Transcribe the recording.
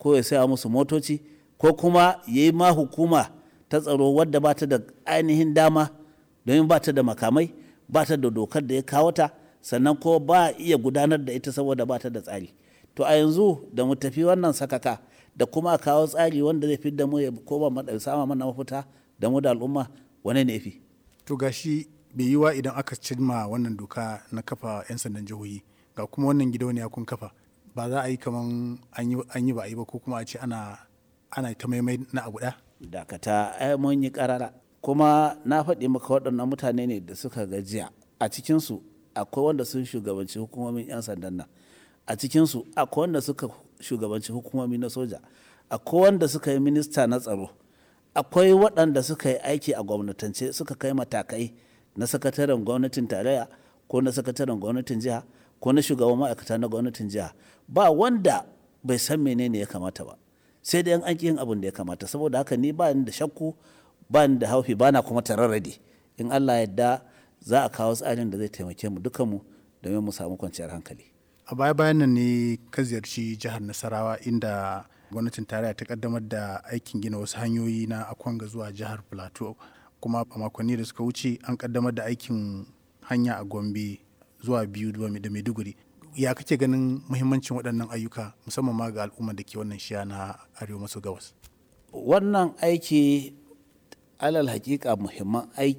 ko ya saya musu motoci, ko kuma ya yi ma hukuma ta tsaro wadda ba ta da ainihin dama, domin ba ta da makamai, ba ta da dokar da ya kawo ta, sannan ko ba iya gudanar da ita saboda ba ta da tsari. To a yanzu da mu tafi wannan sakaka da kuma a kawo tsari wanda zai fidda mu ya koma sama mana mafita da mu da al'umma, wane ne fi? To gashi bai yiwa idan aka cimma wannan doka na kafa 'yan sandan jihohi, ga kuma wannan gidauniya kun kafa, ba za a yi kaman an yi ba a yi ba, ko kuma a ce ana ta maimai na abu ɗaya? Dakata, ai mun yi karara, kuma na faɗi maka waɗannan mutane ne da suka gajiya. A cikinsu akwai wanda sun shugabanci hukumomin 'yan sandan nan, a cikinsu akwai wanda suka shugabanci hukumomi na soja, akwai wanda suka yi minista na tsaro, akwai waɗanda suka yi aiki a gwamnatance, suka kai matakai na sakataren gwamnatin tarayya ko na sakataren gwamnatin jiha ko na shugaban ma'aikata na gwamnatin jiha. Ba wanda bai san menene ya kamata ba, sai dai an yin abin da ya kamata. Saboda haka ni ba ni da shakku, ba ni da haufi, ba na kuma tararradi. In Allah yadda, za a kawo tsarin da zai taimake mu dukanmu domin mu samu kwanciyar hankali. A baya bayan nan ne ka ziyarci jihar Nasarawa, inda gwamnatin tarayya ta kaddamar da aikin gina wasu hanyoyi na Akwanga zuwa jihar Plateau. Kuma a makonni da suka wuce an kaddamar da aikin hanya a Gombe zuwa Biyu da Maiduguri. Ya kake ganin muhimmancin waɗannan ayyuka, musamman ma ga al'ummar da ke wannan shiya na arewa maso gabas? Wannan aiki, alal hakika, muhimman